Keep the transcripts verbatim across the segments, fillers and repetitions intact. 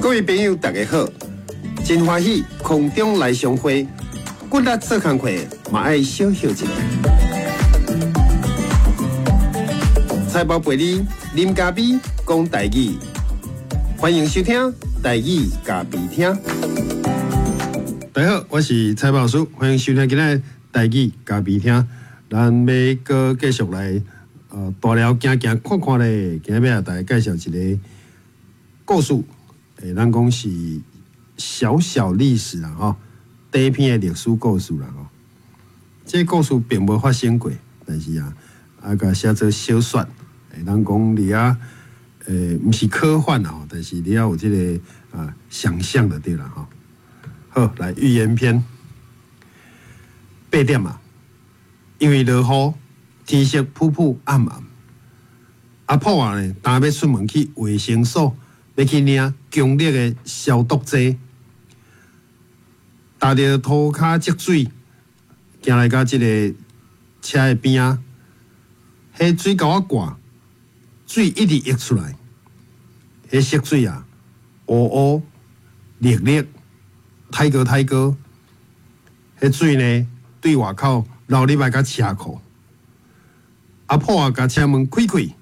各位朋友，大家好，真歡喜空中來相會，骨力做工課嘛愛小歇一下。財報陪你啉咖啡，講台語，歡迎收聽台語咖啡廳。大家好，我是財報師，歡迎收聽今仔台語咖啡廳。咱欲閣繼續來呃大寮行行看看咧，今仔欲來大家介紹一個故事。欸，咱講是小小歷史啦，吼，短篇的歷史故事啦，吼。這個故事並無發生過，但是啊，啊，共寫做小說。欸，咱講裡仔，欸，毋是科幻啦，但是你要有這個啊想象的對啦，吼。好，來寓言篇，八點啊，因為落雨，天色溏溏暗暗。阿婆啊呢，焦欲出門去衛生所。欲去領強力的消毒劑，踏著塗跤積水，行來到這个車的邊仔，彼水溝仔蓋，水一直溢出來，彼色水啊，烏烏、綠綠、太高太高，彼水呢對外口流入來到車庫，阿婆啊，共車門開開，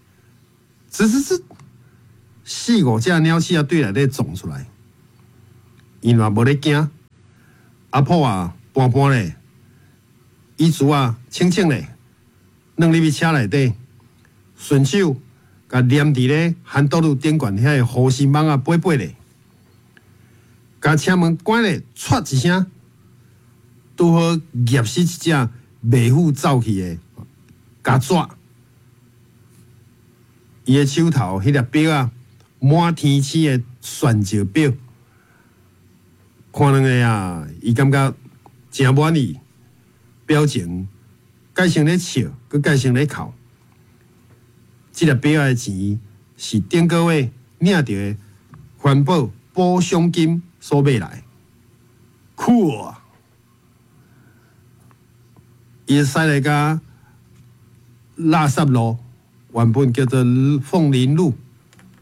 吱吱吱。四五隻鳥鼠仔對內底撞出來，𪜶嘛無咧驚。阿婆啊，搬搬咧，椅子啊，清清咧，軟入去車內底，順手共黏佇咧韓道路頂懸遐个護身網仔掰掰咧，共車門關咧，唰一聲，拄好夾死一隻袂赴走去的虼跩。伊的手頭彼粒錶仔。滿天星的鑽石錶，看兩个啊，伊感覺誠滿意，表情改成咧笑，閣改成咧哭。這粒錶的錢是頂個月領著的環保補償金所買來。酷啊！伊駛來到垃圾路，原本叫做鳳林路。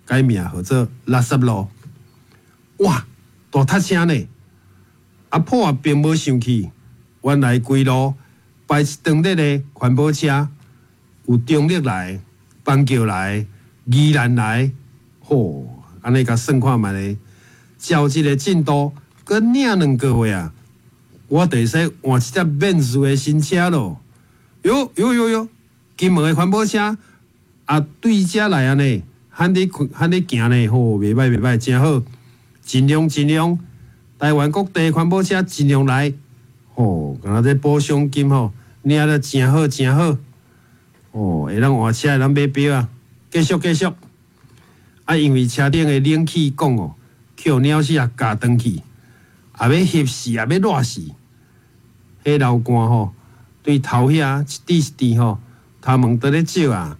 改名號做垃圾路，哇！大塞車呢！阿婆也並無生氣，原來規路排一長列的環保車，有中壢來、板橋來、宜蘭來，吼！按呢共算看覓咧，照這个進度，閣領兩个月啊，我就會使換一隻免稅的新車囉。喲喲喲喲，金門的環保車啊，對遮來按呢。喊咧喊咧行呢，吼，袂䆀袂䆀，誠好，盡量盡量，台灣各地環保車盡量來，吼，敢若這補償金吼，領得誠好誠好，哦，會當換車，會當買錶啊，繼續繼續。啊，因為車頂的冷氣管哦，予鳥鼠仔咬斷去，也欲翕死，也欲熱死，彼流汗吼，對頭遐一滴一滴吼，頭毛佇咧照啊。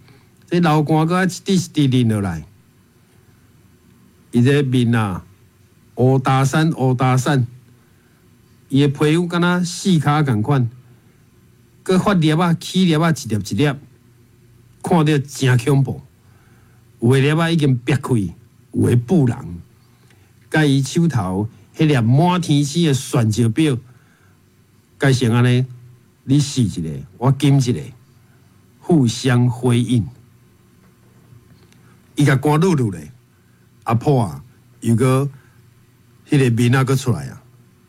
這流汗閣愛一滴一滴淋落來，伊這面啊烏焦散烏焦散，伊的皮膚敢若四跤仝款，閣發粒仔起粒仔一粒一粒，看著誠恐怖。有的粒仔已經癟開，有的布人，佮伊手頭彼粒滿天星的鑽石錶，改成按呢，你試一个，我金一个，互相輝映。伊共關擼擼咧，阿婆啊，又閣彼个面仔閣出來啊，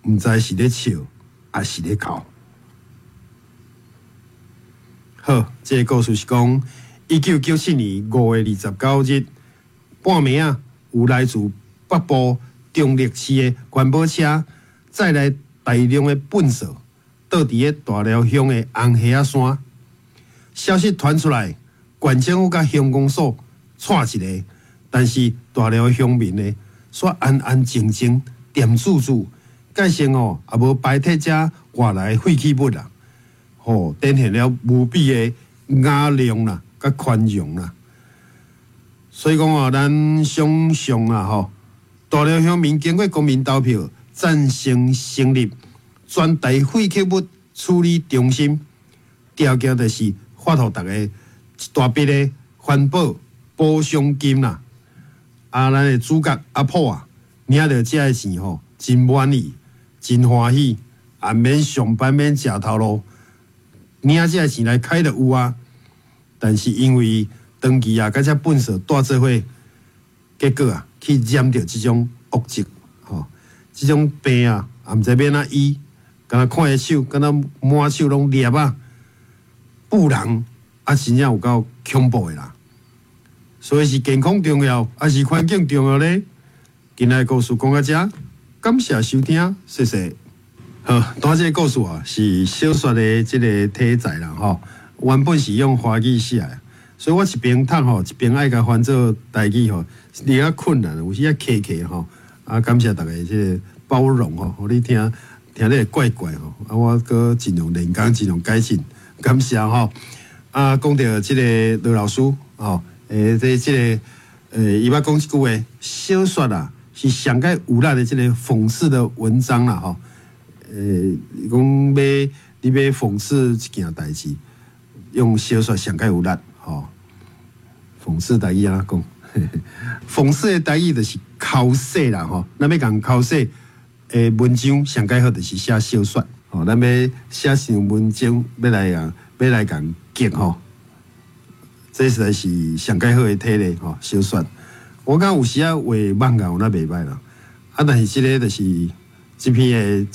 毋知是咧笑，抑是咧哭。好，這个故事是講一九九七年五月二十九日半暝仔，有來自北部中壢市的環保車載來大量的糞掃，倒佇咧大寮鄉的紅蝦仔山。消息傳出來，縣政府佮鄉公所掣一个，但是大寮鄉民呢，煞安安靜靜、恬住住，蓋成哦，也無排斥遮外來廢棄物啦，吼，展現了無比的雅量啦，佮寬容啦。所以講啊，咱想象啊，吼，大寮鄉民經過公民投票，贊成成立全台廢棄物處理中心，條件就是發予逐家一大筆的環保補償金啦。啊，咱的主角阿婆啊，領著這个錢吼，真滿意，真歡喜，也免上班，免食頭路，領這个錢來開就有啊。但是因為長期啊，佮這糞埽蹛做伙，結果啊，去染著這種惡疾，吼，這種病啊，也毋知欲按怎醫，敢若看伊手，敢若滿手攏粒仔，布人啊，真正有夠恐怖的啦。所以是健康重要，抑是環境重要咧？今仔的故事講到遮，感謝收聽，謝謝。好，拄仔這个故事啊，是小說的這个題材啦，吼。原本是用華語寫的，所以我一邊讀吼，一邊愛共翻做台語吼，有較困難，有時仔卡卡吼。啊，感謝大家這个包容吼，予你聽聽咧怪怪吼，啊，我閣盡量練功，盡量改進，感謝吼。啊，講著這个羅老師吼，欸，這這个，欸，伊捌講一句話，小說啊，是上蓋有力的這个諷刺的文章啦吼。欸，講欲你欲諷刺一件代誌，用小說上蓋有力吼。諷刺台語按怎講？諷刺的台語就是剾洗啦吼。咱欲共剾洗的文章上蓋好就是寫小說吼。咱欲寫成文章，欲來共欲來共激吼，這實在是上蓋好的體例吼。小說，我感覺有時仔畫漫畫有那袂䆀啦，啊，但是這个就是這篇的。